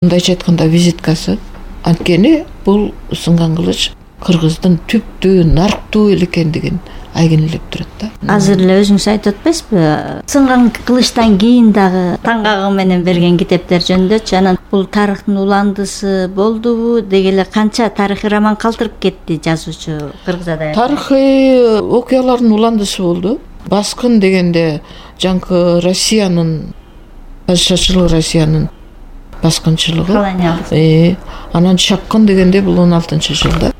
Мындайча айтканда визиткасы. Анткени бул сынган кылыч кыргыздын түптүү, нарктуу эл экендигин айгинелеп турат да. Азыр эле өзүңүз айтып атпайсызбы? Сынган кылычтан кийин дагы таңгагы менен берген китептер жөнүндөчү. Анан бул тарыхтын уландысы болдубу? Деги эле канча тарыхый роман калтырып кетти жазуучу Кыргыз адабиятында? Тарыхый окуялардын уландысы болду. Баскын дегенде жанкы Россиянын, падышачылык Россиянын баскынчылыгы. Колониялдык. Анан чапкын дегенде бул 16-жылда.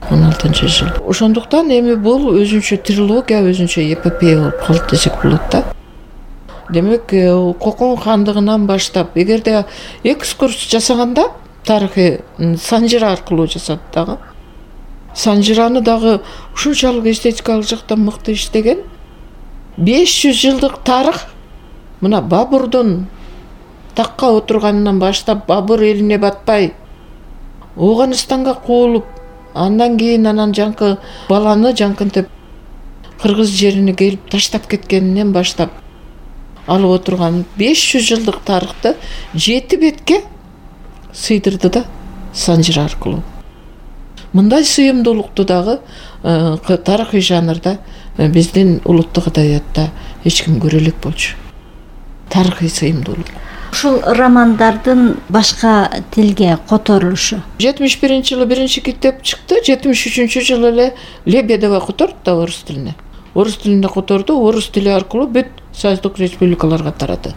16-жыл. Ошондуктан эми бул өзүнчө трилогия, өзүнчө эпопея болуп калды десек болот да. Демек, Кокон хандыгынан баштап, эгерде экскурс жасаганда тарыхый Санжира аркылуу жасады дагы. Санжираны дагы ушунчалык эстетикалык жактан мыкты иштеген. 500 жылдык тарых мына Бабурдун такка отурганынан баштап, Бабур элине батпай Ооганстанга куулуп, андан кийин жанкы баланы жанкынтип кыргыз жерине келип таштап кеткенинен баштап алып отурган 500 жылдык тарыхты 7 бетке сыйдырды да Санжира аркылуу. Мындай сыйымдуулукту дагы тарыхый жанрда биздин улуттук адабиятта эч ким көрө элек болчу. Тарыхый сыйымдуулук. Ушул романдардын башка тилге которулушу. 71-жылы биринчи китеп чыкты, 73-жылы эле Лебедева которду да орус тилине. Орус тилинде которду, орус тили аркылуу бүт союздук республикаларга тарады.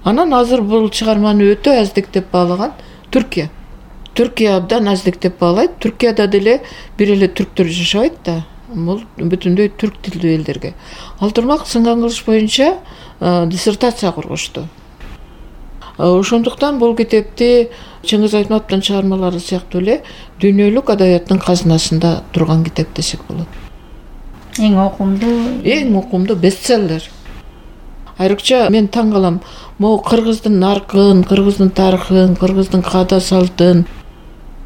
Анан азыр бул чыгарманы өтө аздиктеп баалаган Түркия. Түркия абдан аздиктеп баалайт. Түркияда деле бир эле түрктөр жашабайт да. Бул бүтүндөй түрк тилдүү элдерге. Ал турмак сынган кылыч боюнча диссертация коргошту. Ошондуктан бул китепти Чыңгыз Айтматовдун чыгармалары сыяктуу эле дүйнөлүк адабияттын казынасында турган китеп десек болот. Эң окумдуу бестселлер. Айрыкча мен таң калам, могу кыргыздын наркын, кыргыздын тарыхын, кыргыздын каада салтын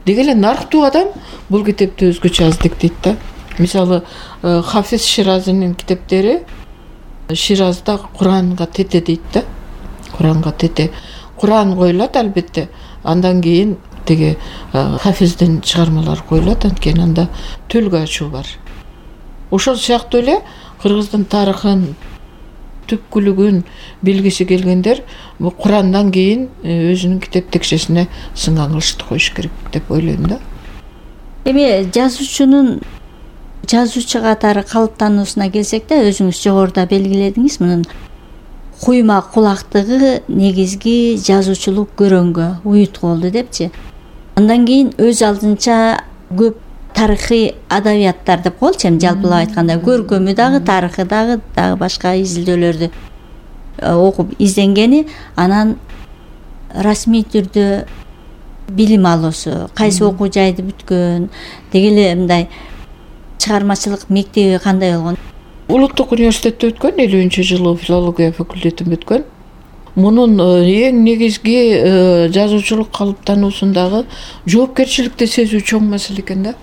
деги эле нарктуу адам бул китепти өзгөчө аздиктейт да. Мисалы, Хафиз Ширазинин китептери Ширазда Куранга тете дейт да. Куранга тете. Куран коюлат албетте. Андан кийин теги Хафиздин чыгармалары коюлат, анткени анда төлгө ачуу бар. Ошол сыяктуу эле кыргыздын тарыхын, түпкүлүгүн билгиси келгендер бул Курандан кийин өзүнүн китеп текшесине сынган кылычты коюш керек деп ойлойм да. Эми жазуучу катары калыптануусуна келсек да, өзүңүз жогоруда белгиледиңиз, мунун куйма кулактыгы негизги жазуучулук көрөнгө, уютку болду депчи. Андан кийин өз алдынча көп тарыхый адабияттар деп коелучу, эми жалпылап айтканда көркөмү дагы, тарыхы дагы башка изилдөөлөрдү окуп изденгени, анан расмий түрдө билим алуусу, кайсы окуу жайды бүткөн, деги эле мындай чыгармачылык мектеби кандай болгон? Улуттук университетте өткөн, 50-жылы филология факультетин бүткөн. Мунун эң негизги жазуучулук калыптануусундагы жоопкерчиликти сезүү чоң маселе экен да.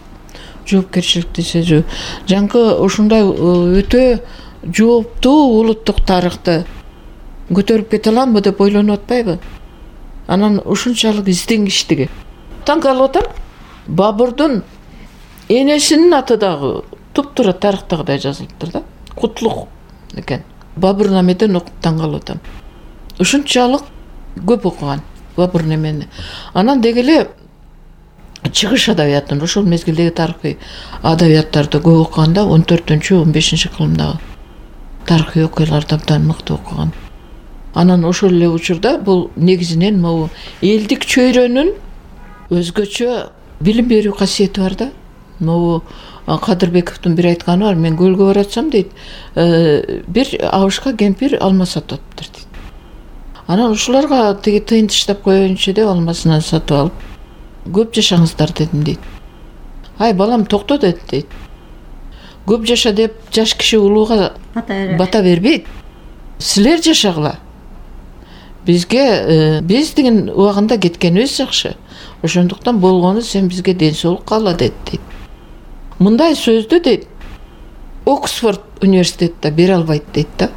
Жоопкерчиликти сезүү. Жанкы ушундай өтө жооптуу улуттук тарыхты көтөрүп кете аламбы деп ойлонуп атпайбы? Анан ушунчалык изденгичтиги. Таң калып атам, Бабурдун энесинин аты дагы туптуура тарыхтагыдай жазылыптыр да. Кутлук экен. Бабур намеден окуп таң калып атам. Ушунчалык көп окуган Бабур немени. Анан деги эле чыгыш адабиятын, ошол мезгилдеги тарыхый адабияттарды көп окуганда 14-15 кылымдагы тарыхый окуяларды абдан мыкты окуган. Анан ошол эле учурда бул негизинен могу элдик чөйрөнүн өзгөчө билим берүү касиети бар да. Могу Кадырбековдун бир айтканы бар, мен көлгө баратсам дейт, бир абышка кемпир алма сатып атыптыр дейт. Анан ушуларга теги тыйын таштап коеюнчу деп алмасынан сатып алып, көп жашаңыздар дедим дейт. Ай балам токто дейт. Көп жаша деп жаш киши улууга бата бербейт. Силер жашагыла. Бизге биз деген убагында кеткенибиз жакшы. Ошондуктан болгону сен бизге ден соолук каала дейт. Мындай сөздү дейт Оксфорд университетте бере албайт дейт да.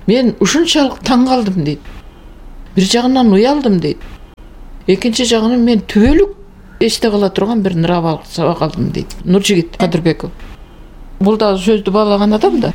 Мен ушунчалык таң калдым дейт. Бир жагынан уялдым дейт. экинчи жагынан мен түбөлүк эсте кала турган бир нравалык сабак алдым дейт Нуржигит Кадырбеков. Бул да сөздү баалаган адам да.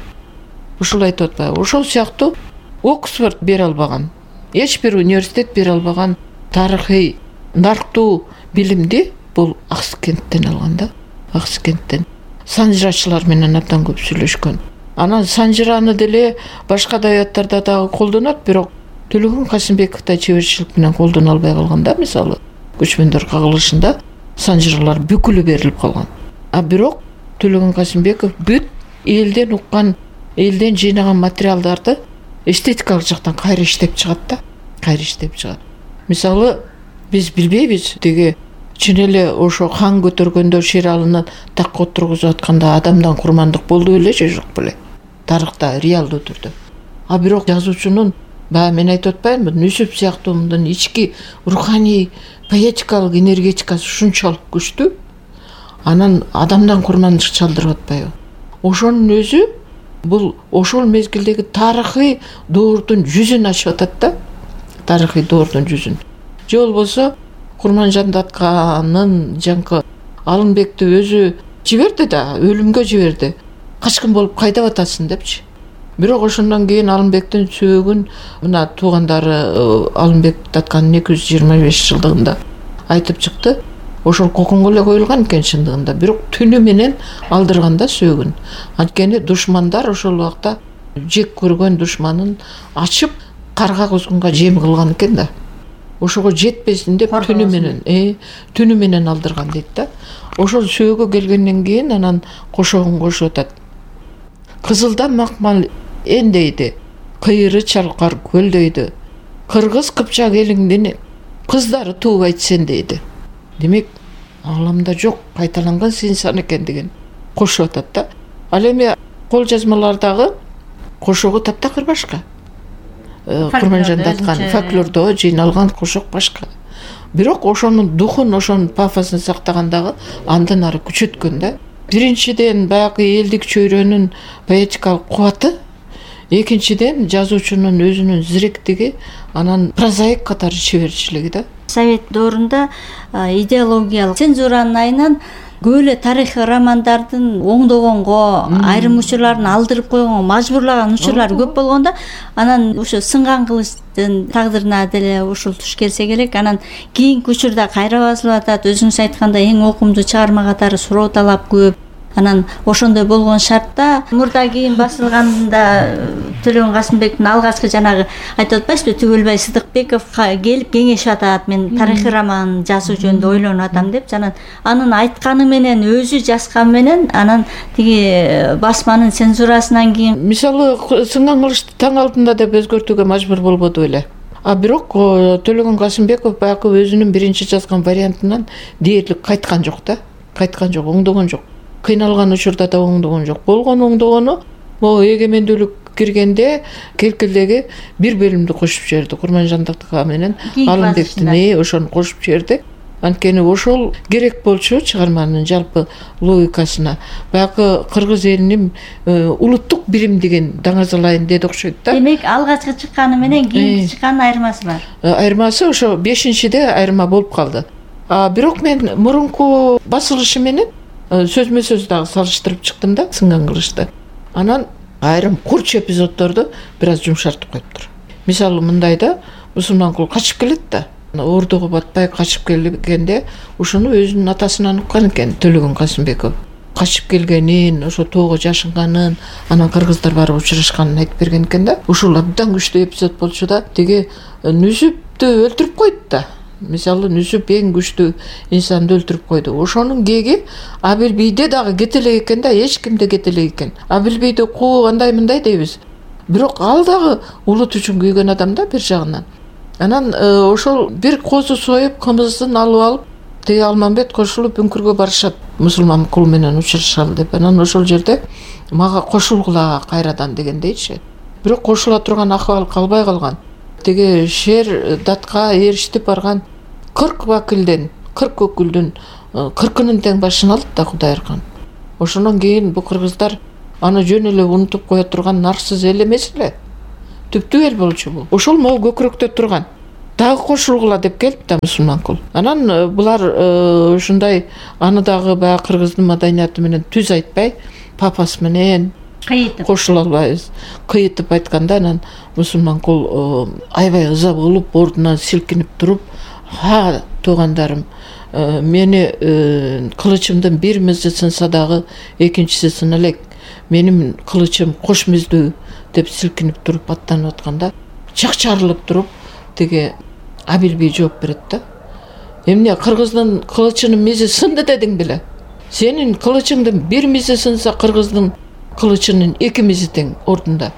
Ушул айтып атпайбы? Ошол сыяктуу Оксфорд бере албаган, эч бир университет бере албаган тарыхый нарктуу билимди бул Акскенттен алган да. Акскенттен санжырачылар менен абдан көп сүйлөшкөн. Анан санжыраны деле башка адабияттарда дагы колдонот, бирок Төлөгөн Касымбековда чеберчилик менен колдоно албай калган да. Мисалы көчмөндөр кагылышында санжыралар бүкүлү берилип калган. А бирок Төлөгөн Касымбеков бүт элден уккан, элден жыйнаган материалдарды эстетикалык жактан кайра иштеп чыгат да. Кайра иштеп чыгат. Мисалы биз билбейбиз, деги чын эле ошо хан көтөргөндө Шералынын такка отургузуп атканда адамдан курмандык болду беле же жок беле? Тарыхта реалдуу түрдө. А бирок жазуучунун баягы мен айтып атпаймынбы, Нүсүп сыяктуу мындан ички руханий поэтикалык энергетикасы ушунчалык күчтүү, анан адамдан курмандык чалдырып атпайбы? Ошонун өзү бул ошол мезгилдеги тарыхый доордун жүзүн ачып атат да. Тарыхый доордун жүзүн. Же болбосо Курманжанды атканын жаңкы Алымбекти өзү жиберди да, өлүмгө жиберди. Качкын болуп кайда атасың депчи. Бирок ошондон кийин Алымбектин сөөгүн мына туугандары Алымбекти атканын 225 жылдыгында айтып чыкты. Ошол коконго эле коюлган экен чындыгында, бирок түнү менен алдырганда сөөгүн. Анткени душмандар ошол убакта жек көргөн душманын ачып карга кузгунга жем кылган экен да. Ошого жетпесин деп түнү менен алдырган дейт да. Ошол сөөгө келгенден кийин анан кошогун кошуп атат. Кызылда макмал эндейди, кыйыры чалкар көлдөйдү. Кыргыз Кыпчак элиңдин кыздары туубайт сен дейди. Демек, аңламда жок, кайталанган сынсан экен деген кошуп атат да. Ал эми кол жазмалардагы кошогу таптакыр башка. Курманжанды аткан фольклордо жыйналган кошок башка. Бирок ошонун духун, ошонун пафосун сактагандагы андан ары күчөткөн да. Биринчиден баягы элдик чөйрөнүн поэтикалык кубаты, экинчиден жазуучунун өзүнүн зиректиги, анан прозаик катары чеберчилиги да. Совет доорунда идеологиялык цензуранын айынан көп эле тарыхый романдардын оңдогонго, айрым учурларын алдырып койгонго мажбурлаган учурлар көп болгондо, анан ошо сынган кылычтын тагдырына деле ушул туш келсе керек. Анан кийинки учурда кайра басылып атат. Өзүңүз айткандай эң окумдуу чыгарма катары суроо талап көп. Анан ошондой болгон шартта мурда кийин басылганда Төлөгөн Касымбектин алгачкы жанагы айтып атпайсызбы, Түгөлбай Сыдыкбеков келип кеңешип атат, мен тарыхый роман жазуу жөнүндө ойлонуп атам деп. Анын айтканы менен, өзү жазганы менен, анан тиги басманын цензурасынан кийин мисалы сынган кылычты таң алдында деп өзгөртүүгө мажбур болбоду беле. А бирок Төлөгөн Касымбеков баягы өзүнүн биринчи жазган вариантынан дээрлик кайткан жок да. Кайткан жок, оңдогон жок. Кыйналган учурда да оңдогон жок. Болгон оңдогону могу эгемендүүлүк киргенде келкилдеги бир бөлүмдү кошуп жиберди. Курманжандыкка менен Алымбектин ошону кошуп жиберди. Анткени ошол керек болчу чыгарманын жалпы логикасына. Баягы кыргыз элинин улуттук бирим деген даңазалайын деди окшойт да. Демек, алгачкы чыкканы менен кийинки чыкканын айырмасы бар. Айырмасы ошо 5-де айырма болуп калды. Бирок мен мурунку басылышы менен сөзмө сөз дагы салыштырып чыктым да сынган кылычты. Анан айрым курч эпизоддорду бир аз жумшартып коюптур. Мисалы мындайда Мусулманкул качып келет да. Ордого батпай качып келгенде ушуну өзүнүн атасынан уккан экен Төлөгөн Касымбеков. Качып келгенин, ошо тоого жашынганын, анан кыргыздар барып учурашканын айтып берген экен да. Ушул абдан күчтүү эпизод болчу да. Тиги Нүсүптү өлтүрүп койду да. Мисалы Нүсүп эң күчтүү инсанды өлтүрүп койду. Ошонун кеги Абилбийде дагы кетелек экен да, эч кимде кетелек экен. Абилбийди куу андай мындай дейбиз. Бирок ал дагы улут үчүн күйгөн адам да бир жагынан. Анан ошол бир козу союп, кымызын алып алып, тиги Алмамбет кошулуп үңкүргө барышат. Мусулманкул менен учурашалы деп. Анан ошол жерде мага кошулгула кайрадан дегендейчи. Бирок кошула турган акыбал калбай калган. Тиги шер датка эрişип барган 40 вакилден, 40 өкүлдүн 40-ынын тең башын алды да Кудай Аркан. Ошондон кийин бу кыргыздар аны жөн эле унутуп кое турган нарсыз эл эмес эле. Түптүү эл болчу бул. Ошол могу көкүрөктө турган дагы кошулгула деп келип да Мусулманкул. Анан булар ушундай аны дагы баягы кыргыздын маданияты менен түз айтпай, папасы менен кошула албайбыз. Кыйытып айтканда анан Мусулманкул аябай ыза болуп, ордунан силкинип туруп, "Ха, туугандарым, мени кылычымдын бир мизи сынса дагы экинчиси сына элек. Менин кылычым кош миздүү" деп силкинип туруп аттанып атканда, чакчарылып туруп тиги Абил бий жооп берет да. "Эмне, кыргыздын кылычынын мизи сынды дедиң беле? Сенин кылычыңдын бир мизи сынса, кыргыздын кылычынын эки мизи тең ордунда.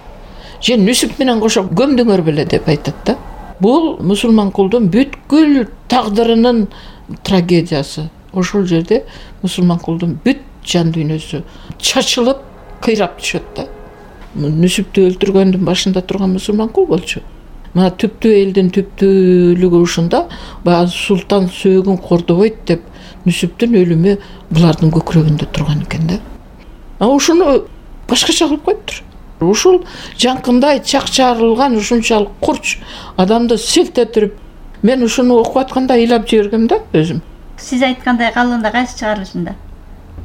Сен Нүсүп менен кошо көмдүңөр беле" деп айтат да. Бул Мусулманкулдун бүткүл тагдырынын трагедиясы. Ошол жерде Мусулманкулдун бүт жан дүйнөсү чачылып, кыйрап түшөт да. Нүсүптү өлтүргөндүн башында турган Мусулманкул болчу. Мына түптүү элдин түптүүлүгү ушунда, баягы султан сөөгүн кордобойт деп Нүсүптүн өлүмү булардын көкүрөгүндө турган экен да. Ушуну башкача кылып коюптур. Ушул жанкындай чакчарылган, ушунчалык курч адамды селт этирип, мен ушуну окуп атканда ыйлап жибергем да өзүм. Сиз айткандай калганда кайсы чыгарылышында?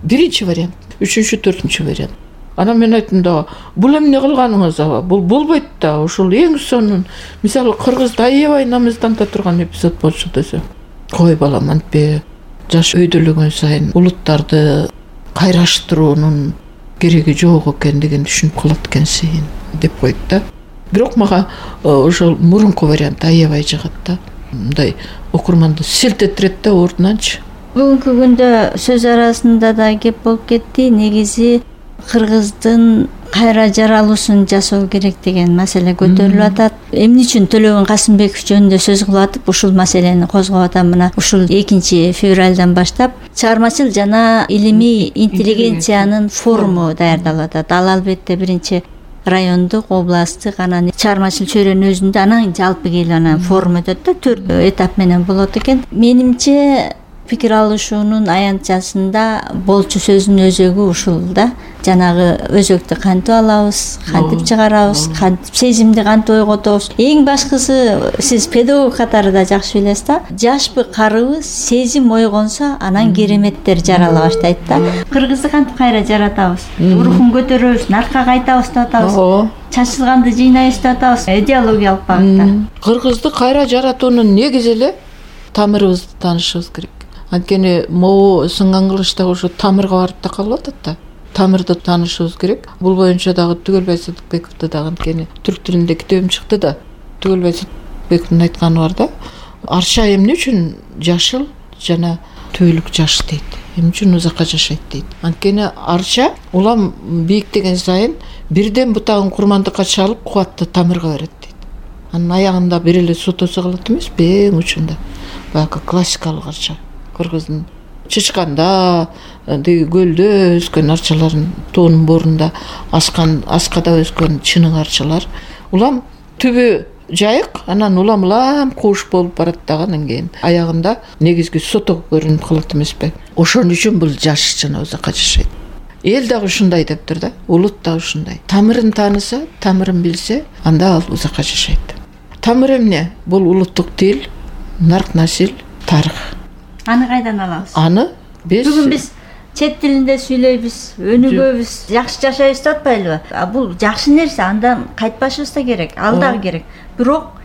Биринчи вариант, үчүнчү, төртүнчү вариант. Анан мен айттым да, бул эмне кылганыңыз аба? Бул болбойт да. Ушул эң сонун, мисалы кыргызда аябай намыстанта турган эпизод болчу десем. Кой балам, антпе жаш өйдөлөгөн сайын улуттарды кайраштыруунун кереги жок экендигин түшүнүп калат экенсиң деп койт да. Бирок мага ошол мурунку вариант аябай жагат да. Мындай окурманды селт этирет да ордунанчы. Бүгүнкү күндө сөз арасында да кеп болуп кетти. Негизи кыргыздын кайра жаралуусун жасоо керек деген маселе көтөрүлүп атат. Эмне үчүн Төлөгөн Касымбеков жөнүндө сөз кылып атып, ушул маселени козгоп атам. Мына ушул 2 февралдан баштап чыгармачыл жана илимий интеллигенциянын форуму даярдалып атат. Ал албетте биринчи райондук, областтык, анан чыгармачыл чөйрөнүн өзүндө, анан жалпы келип анан форум өтөт да, 4 этап менен болот экен. Менимче пикир алышуунун аянтчасында болчу сөздүн өзөгү ушул да. Жанагы өзөктү кантип алабыз, кантип чыгарабыз, кантип сезимди кантип ойготобуз. Эң башкысы, сиз педагог катары да жакшы билесиз да, жашпы карыбы сезим ойгонсо, анан кереметтер жарала баштайт да. Кыргызды кантип кайра жаратабыз, рухун көтөрөбүз, наркка кайтабыз деп атабыз, чачылганды жыйнайбыз деп атабыз, идеологиялык багытта. Кыргызды кайра жаратуунун негизи эле тамырыбызды таанышыбыз керек. Анткени могу сынган кылычта ошо тамырга барып да калып атат да. Тамырды таанышыбыз керек. Бул боюнча дагы Түгөлбай Садыкбековду дагы анткени түрк тилинде китебим чыкты да. Түгөлбай Садыкбековдун айтканы бар да. Арча эмне үчүн жашыл жана түбөлүк жаш дейт. Эмне үчүн узакка жашайт дейт. Анткени арча улам бийиктеген сайын бирден бутагын курмандыкка чалып кубатты тамырга берет дейт. Анын аягында бир эле сотосу калат эмеспи, эң учунда. Баягы классикалык арча. Кыргыздын Чычканда, көлдө өскөн арчалардын тоонун борунда аскада өскөн чынык арчалар. Улам түбү жайык, анан улам кууш болуп барат дагы, анан кийин аягында негизги сото көрүнүп калат эмеспи. Ошон үчүн бул жаш жана узакка жашайт. Эл дагы ушундай дептир да, улут дагы ушундай. Тамырын тааныса, тамырын билсе, анда ал узакка жашайт. Тамыр эмне? Бул улуттук тил, нарк насил, тарых. Аны кайдан алабыз? Аны бүгүн биз чет тилинде сүйлөйбүз, өнүгөбүз, жакшы жашайбыз деп атпайлыбы? Бул жакшы нерсе, андан кайтпашыбыз да керек, ал дагы керек. Бирок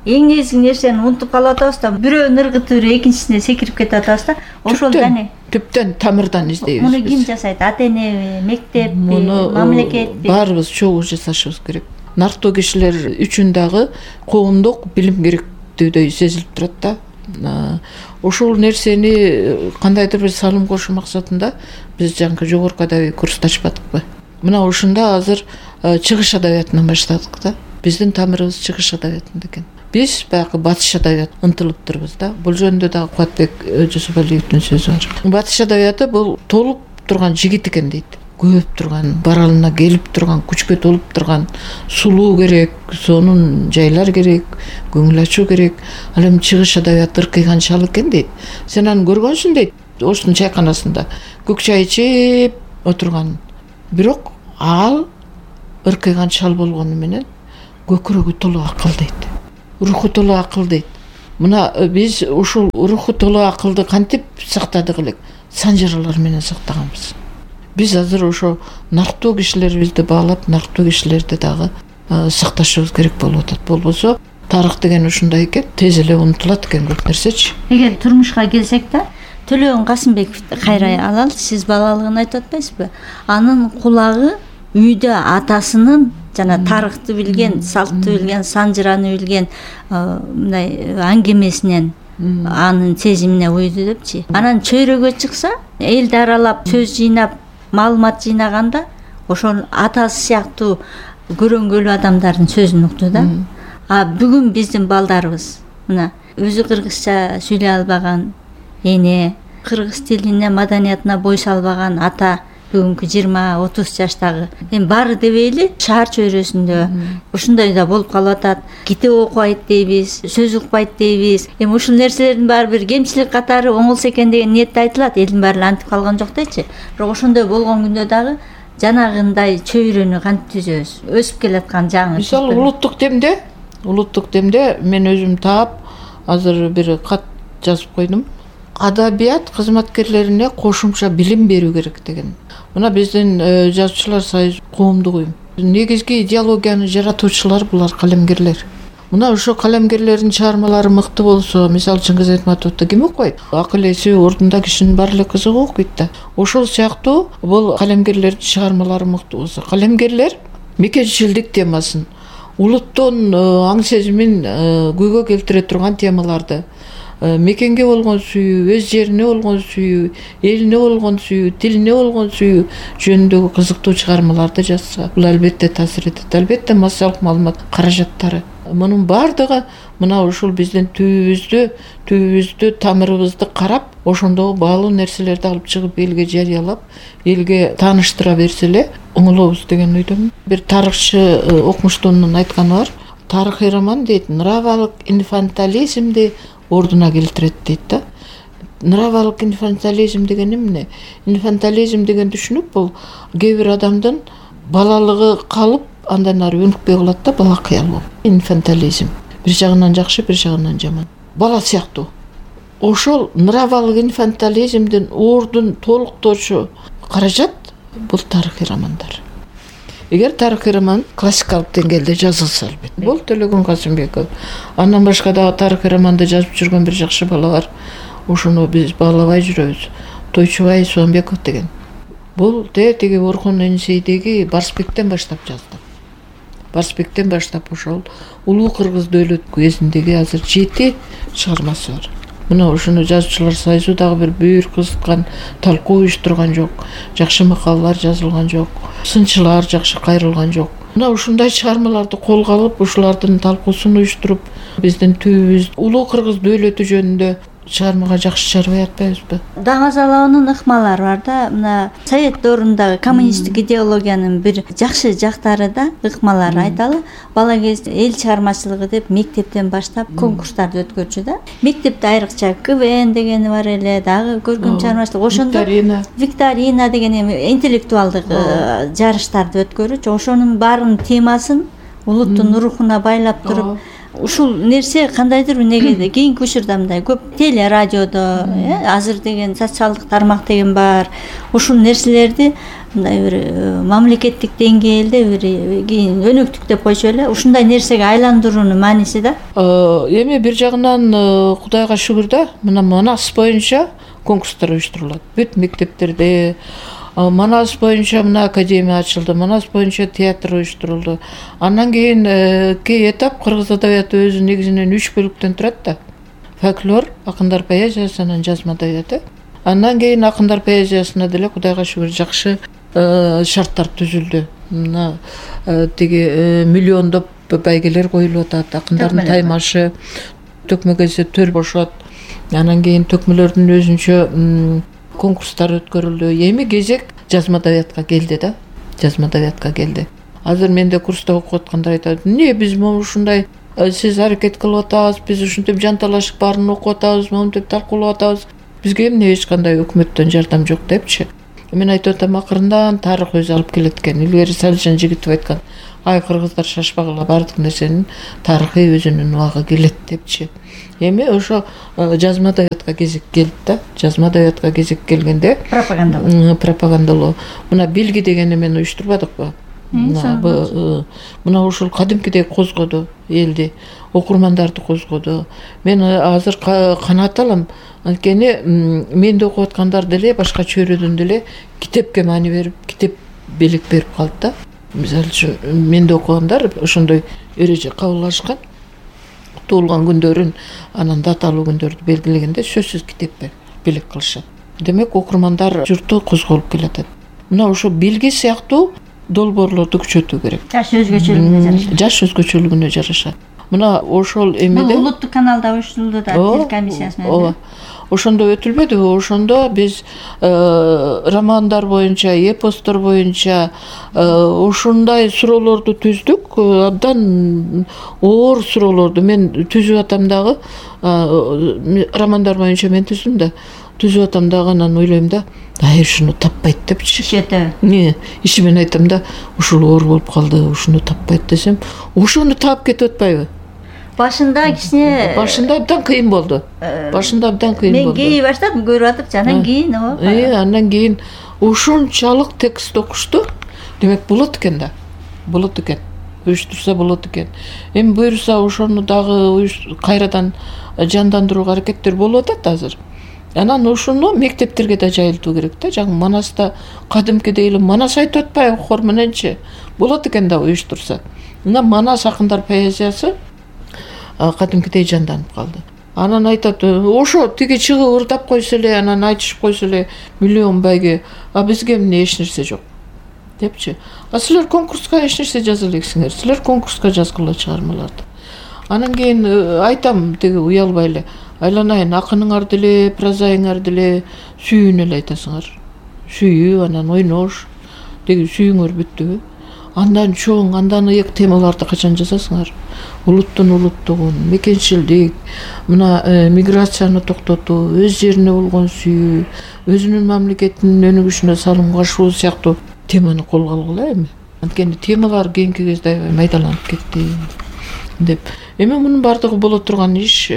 эң негизги нерсени унутуп калып атабыз да, бирөөнүн ыргыты экинчисине секирип кетип атабыз да. Ошол дане түптөн тамырдан издейбиз. Муну ким жасайт? Ата-энеби, мектеппи, мамлекетпи? Баарыбыз чогуу жасашыбыз керек. Нарктуу кишилер үчүн дагы коомдук билим керектүүдөй сезилип турат да. Ошол нерсени кандайдыр бир салым кошуу максатында биз жанкы жогорку адабий курсту ачпадыкпы? Мына ушунда азыр чыгыш адабиятынан баштадык да. Биздин тамырыбыз чыгыш адабиятында экен. Биз баягы батыш адабият ынтылып турбуз да. Бул жөнүндө дагы Кубатбек Жусупалиевдин сөзү бар. Батыш адабияты бул толуп турган жигит экен дейт. Көп турган, баралына келип турган, күчкө толуп турган, сулуу керек, сонун жайлар керек, көңүл ачуу керек. Ал эми чыгыш адабияты ыркыйган шал экен дейт. Сен аны көргөнсүң дейт, оштун чайканасында көк чай ичип отурган. Бирок ал ыркыйган шал болгону менен көкүрөгү толук акыл дейт. Руху толук акыл дейт. Мына биз ушул руху толуу акылды кантип сактадык элек? Санжаралар менен сактаганбыз. Биз азыр ошо нарктуу кишилерибизди баалап, нарктуу кишилерди дагы сакташыбыз керек болуп атат. Болбосо тарых деген ушундай экен, тез эле унутулат экен көп нерсечи. Эгер турмушка келсек да, Төлөгөн Касымбековду кайра алалы, сиз балалыгын айтып атпайсызбы? Анын кулагы үйдө атасынын жана тарыхты билген, салтты билген, санжыраны билген мындай аңгемесинен анын сезимине уйду депчи. Анан чөйрөгө чыкса, элди аралап, сөз жыйнап, маалымат жыйнаганда ошол атасы сыяктуу көрөнгөлүү адамдардын сөзүн укту да. Бүгүн биздин балдарыбыз мына өзү кыргызча сүйлөй албаган эне, кыргыз тилине, маданиятына бой салбаган ата, бүгүнкү 20-30 жаштагы эми баары дебейли шаар чөйрөсүндө ушундай да болуп калып атат. Китеп окубайт дейбиз, сөз укпайт дейбиз. Эми ушул нерселердин баары бир кемчилик катары оңолсо экен деген ниетте айтылат. Элдин баары антип калган жок дечи. Бирок ошондой болгон күндө дагы жанагындай чөйрөнү кантип түзөбүз? Өсүп келаткан жаңы. Мисалы улуттук демде мен өзүм таап азыр бир кат жазып койдум. Адабият кызматкерлерине кошумча билим берүү керек деген. Мына биздин жазуучулар союзу коомдук уюм. Негизги идеологияны жаратуучулар булар калемгерлер. Мына ошо калемгерлердин чыгармалары мыкты болсо, мисалы Чыңгыз Айтматовду ким окуйт? Акыл эси ордунда кишинин баары эле кызыгы окуйт да. Ошол сыяктуу бул калемгерлердин чыгармалары мыкты болсо, калемгерлер мекенчилдик темасын, улуттун аң сезимин көйгөй келтире турган темаларды, мекенге болгон сүйүү, өз жерине болгон сүйүү, элине болгон сүйүү, тилине болгон сүйүү жөнүндөгү кызыктуу чыгармаларды жазса, бул албетте таасир этет. Албетте массалык маалымат каражаттары. Мунун баардыгы мына ушул биздин түбүбүздү, тамырыбызды карап, ошондогу баалуу нерселерди алып чыгып элге жарыялап, элге тааныштыра берсе эле оңолобуз деген ойдомун. Бир тарыхчы окумуштуунун айтканы бар. Тарыхый роман дейт, нравалык инфантилизмди ордуна келтирет дейт да. Нравалык инфантилизм деген эмне? Инфантилизм деген түшүнүк бул кээ бир адамдын балалыгы калып, андан ары өнүкпөй калат да, бала кыял болуп. Инфантилизм бир жагынан жакшы, бир жагынан жаман. Бала сыяктуу. Ошол нравалык инфантилизмдин ордун толуктоочу каражат бул тарыхый романдар. Эгер тарыхый роман классикалык деңгээлде жазылса албетте. Бул Төлөгөн Касымбеков. Андан башка дагы тарыхый романды жазып жүргөн бир жакшы бала бар. Ошону биз баалабай жүрөбүз. Тойчубай Суамбеков деген. Бул тиги Орхон Энисейдеги Барсбектен баштап жазды. Барсбектен баштап ошол Улуу Кыргыз Дөөлөт кезиндеги азыр 7 чыгармасы бар. Мына ушуну жазуучулар союзу дагы бир бүйүр кызыккан, талкуу уюштурган жок, жакшы макалалар жазылган жок, сынчылар жакшы кайрылган жок. Мына ушундай чыгармаларды колго алып, ушулардын талкуусун уюштуруп, биздин түбүбүз Улуу Кыргыз Дөөлөтү жөнүндө чыгармага жакшы чарбай атпайбызбы? Даңазалаонун ыкмалары бар да. Мына Совет доорундагы коммунисттик идеологиянын бир жакшы жактары да ыкмалары айталы. Бала кезде эл чыгармачылыгы деп мектептен баштап конкурстарды өткөрчү да. Мектепте айрыкча КВН дегени бар эле, дагы көркөм чыгармачылык, ошондо викторина деген эми интеллектуалдык жарыштарды өткөрүчү. Ошонун баарынын темасын улуттун рухуна байлап туруп, ушул нерсе кандайдыр бир негеде кийинки учурда мындай көп теле радиодо азыр деген социалдык тармак деген бар. Ушул нерселерди мындай бир мамлекеттик деңгээлде бир кийин өнөктүк деп койчу эле ушундай нерсеге айландыруунун мааниси да. Эми бир жагынан Кудайга шүгүр да, мына Манас боюнча конкурстар уюштурулат. Бүт мектептерде Манас боюнча мына академия ачылды, Манас боюнча театр уюштурулду. Андан кийин кей этап кыргыз адабияты өзү негизинен 3 бөлүктөн турат да. Фольклор, акындар поэзиясы, анан жазма адабияты. Андан кийин акындар поэзиясына деле Кудайга шүгүр жакшы шарттар түзүлдү. Мына тиги миллиондоп байгелер коюлуп атат, акындардын таймашы, төкмөгөзө төр бошот. Андан кийин төкмөлөрдүн өзүнчө конкурстар өткөрүлдү. Эми кезек жазма адабиятка келди да. Жазма адабиятка келди. Азыр менде курста окуп аткандар айтат, "Не биз могу ушундай сиз аракет кылып атабыз, биз ушинтип жанталашып баарын окуп атабыз, монтип талкуулап атабыз. Бизге эмне эч кандай өкмөттөн жардам жок" депчи. Мен айтып атам, акырындан тарых өзү алып келет экен. Илгери Салижан Жигитов айткан, ай кыргыздар шашпагыла, баардык нерсенин тарыхы өзүнүн убагы келет депчи. Эми ошо жазма адабиятка кезек келди да. Жазма адабиятка кезек келгенде пропагандалоо. Мына белги дегенди мен уюштурбадыкпы? Мына ушул кадимкидей козгоду элди, окурмандарды козгоду. Мен азыр канаат алам, анткени менде окуп аткандар деле башка чөйрөдөн деле китепке маани берип, китеп белек берип калды да. Мисалы үчүн менде окугандар ошондой эреже кабыл алышкан. Туулган күндөрүн, анан даталуу күндөрдү белгилегенде сөзсүз китепке белек кылышат. Демек окурмандар журту козголуп келатат. Мына ошо белги сыяктуу долбоорлорду күчөтүү керек. Жаш өзгөчөлүгүнө жараша. Мына ошол эмеде улуттук каналда уюштурулду да, тил комиссиясы менен. Ооба. Ошондо өтүлбөдүбү? Ошондо биз романдар боюнча, эпостор боюнча ушундай суроолорду түздүк. Абдан оор суроолорду мен түзүп атам дагы. Романдар боюнча мен түздүм да. Түзүп атам дагы, анан ойлойм да, ушуну таппайт депчи. Ишимен айтам да, ушул оор болуп калды, ушуну таппайт десем, ошону таап кетип атпайбы? Башында кичине абдан кыйын болду. Мен кийи баштадым, көрүп атып, анан кийин андан кийин ушунчалык текст окушту. Демек болот экен да. Болот экен. Уюштурса болот экен. Эми буюрса ошону дагы кайрадан жандандырууга аракеттер болуп атат азыр. Анан ушуну мектептерге да жайылтуу керек да. Жаңы Манаста кадимкидей эле Манас айтып атпайбы хор мененчи? Болот экен да уюштурса. Мына Манас акындар поэзиясы кадимкидей жанданып калды. Анан айтат, ошо тиги чыгып ырдап койсо эле, анан айтышып койсо эле миллион байге, бизге эмне эч нерсе жок депчи. Силер конкурска эч нерсе жаза элексиңер. Силер конкурска жазгыла чыгармаларды. Анан кийин айтам, тиги уялбай эле, айланайын, акыныңар деле, прозаиңар деле сүйүүнү эле айтасыңар. Сүйүү, анан ойнош, тиги сүйүүңөр бүттүбү? Андан чоң, андан ыйык темаларды качан жазасыңар? Улуттун улуттугун, мекенчилдик, мына миграцияны токтотуу, өз жерине болгон сүйүү, өзүнүн мамлекетинин өнүгүшүнө салым кошуу сыяктуу теманы колго алгыла эми. Анткени темалар кийинки кезде аябай майдаланып кетти деп. Эми мунун баардыгы боло турган иш.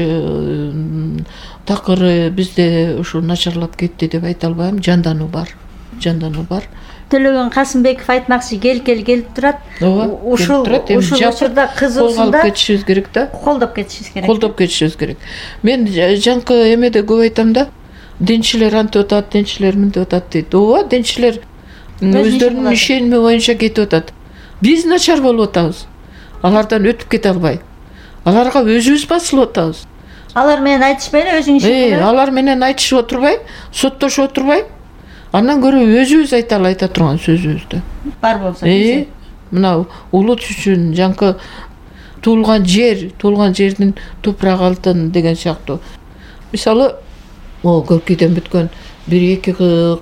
Такыры бизде ушу начарлап кетти деп айта албайм. Жандануу бар. Төлөгөн Касымбеков айтмакчы, келип турат. Ушул учурда кызуусунда кетишибиз керек да. Колдоп кетишибиз керек. Мен жаңкы эмеде көп айтам да. Денчилер антип атат, денчилер мынтип атат дейт. Ооба, денчилер өздөрүнүн ишеними боюнча кетип атат. Биз начар болуп атабыз. Алардан өтүп кете албай. Аларга өзүбүз басылып атабыз. Алар менен айтышпай эле өзүң ишин. Алар менен айтышып отурбай, соттошуп отурбай, андан көрө өзүбүз айта турган сөзүбүздү. Бар болсо. Мына улут үчүн жаңкы туулган жердин топурак алтын деген сыяктуу. Мисалы, Көркүйдөн бүткөн бир-эки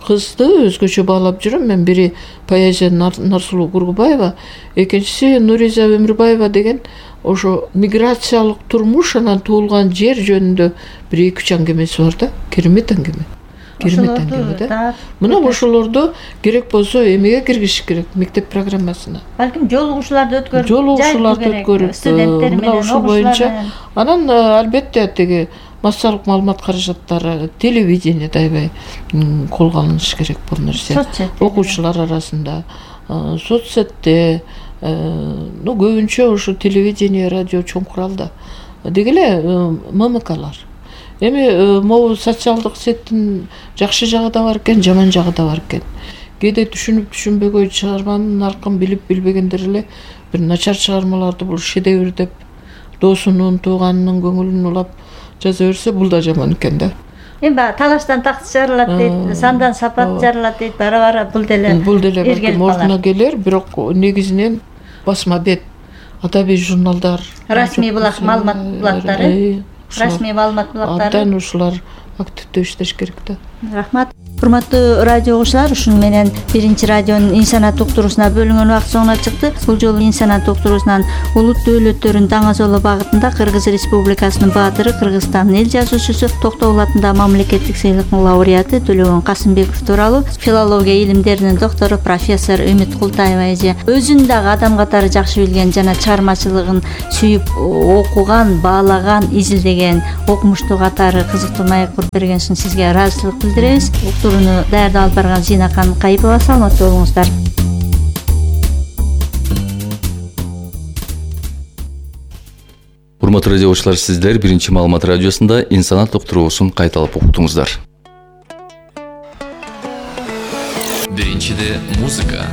кызды өзгөчө баалап жүрөм. Мен бири поэзия Нарсулуу Кургубаева, экинчиси Нуриза Өмүрбаева деген ошо миграциялык турмуш, анан туулган жер жөнүндө бир-эки аңгемеси бар да. Керемет аңгеме да. Мына ошолорду керек болсо эмеге киргизиш керек, мектеп программасына. Балким жолугушууларды өткөрүп, студенттер менен, мына ушул боюнча. Анан албетте тиги массалык маалымат каражаттары, телевидениеде аябай колго алынышы керек бул нерсе. Окуучулар арасында, соцсетте, көбүнчө ушу телевидение, радио чоң куралда. Деги эле ММКлар. Эми могу социалдык сеттин жакшы жагы да бар экен, жаман жагы да бар экен. Кээде түшүнбөгөй чыгарманын наркын билбегендер эле бир начар чыгармаларды бул шедевр деп досунун, тууганынын көңүлүн улап жаза берсе, бул да жаман экен да. Эми талаштан такт жарылат дейт, сандан сапат жарылат дейт, бара бул деле балким ордуна келер, бирок негизинен басма бет, адабий журналдар, расмий маалымат булактары, абдан ушулар активдүү иштеш керек да. Рахмат. Урматтуу радио угуучулар, ушуну менен биринчи радионун инсанат уктуруусуна бөлүнгөн убакыт соңуна чыкты. Бул жолу инсанат уктуруусунан улут дөөлөттөрүн даңазолоо багытында Кыргыз Республикасынын баатыры, Кыргызстандын эл жазуучусу, Токтогул атындагы мамлекеттик сыйлыктын лауреаты Төлөгөн Касымбеков тууралуу филология илимдеринин доктору профессор Үмүт Култаева эже өзүн дагы адам катары жакшы билген жана чыгармачылыгын сүйүп окуган, баалаган, изилдеген окумуштуу катары кызыктуу маек куруп берген үчүн сизге ыраазычылык билдиребиз. Уктурууну даярдап алып барган Зинакан Кайыпова, саламаттуу болуңуздар. Урматтуу радио угуучулар, сиздер биринчи маалымат радиосунда инсанат уктуруусун кайталап уктуңуздар. Биринчиде музыка,